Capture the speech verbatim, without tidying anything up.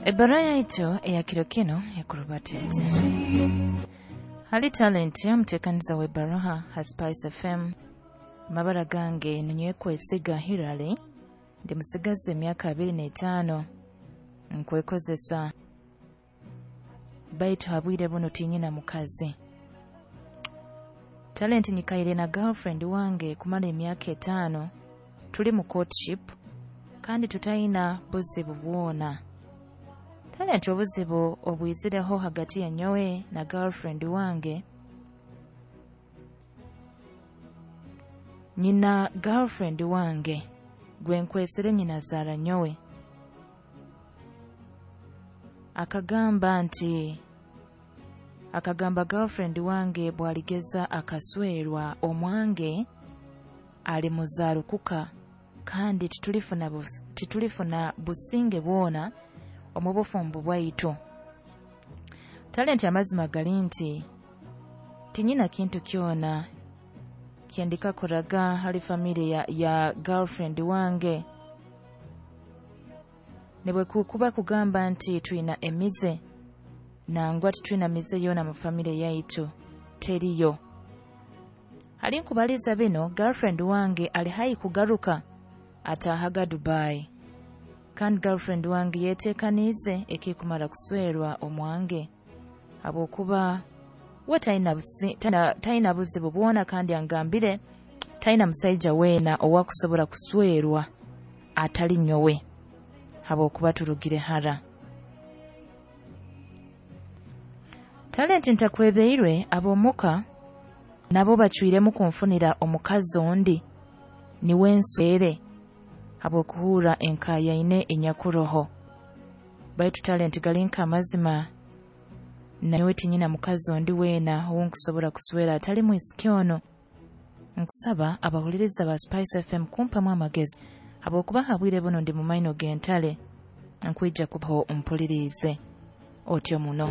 Ebbaruha yaitu eya kiro kinu ekurubata eti: Hali Talent, omuteekaniza w'ebbaruha ha Spice F M. Amabara gange ninyekwesiga Hilary, ndi musigazi w'emyaka abiri n'etaano, nkwekozesa, baitu ha bwire bunu tinyina mukazi. Talent, nyikaire na girlfriend wange kumara emyaka etaano, tuli mu courtship kandi tutayina buzibu bwona. Talent, obuzibu obwizireho hagati ya nyowe na girlfriend wange, nyina girlfriend wange gwenkwesere nyina zaara nyowe akagamba nti akagamba girlfriend wange bwaligeza akaswerwa omwange alimuzaarukuka kandi titulifuna bus, titulifuna businge bwona omu bufumbo bwaitu. Talent, amazima gali nti tinyina kintu kyona kyendikakoraga hali famire ya, ya girlfriend wange, nibwe kuba kugamba nti twina emize, nangwa titwina mize yoona mu famire yaitu, teriyo. Hali nkubaliza bino, girlfriend wange ali haihi kugaruka ataahaga Dubai, kandi girlfriend wange yeteekaniize ekikumara kuswerwa omwange, habwokuba we talina busi- talina- talina buzibu bwona, kandi angambire talina musaija weena owakusobora kuswerwa atali nyowe, habwokuba turugire hara. Talent, ntakwebeirwe, ab'omuka nabo bacwiremu kunfunira omukazi ondi niwe nswere, habw'okuhurra enkayaine enyakuroho. Baitu Talent, gali nk'amazima, nanyowe tinyina mukazi ondi weena ou nkusobora kuswera atali mwisiki onu. Nkusaba abahuliriza ba Spice F M kumpamu amagezi, habwokuba ha bwire buno ndi mu maino g'entale. Nkwija kubaho mpuliriize otyo muno.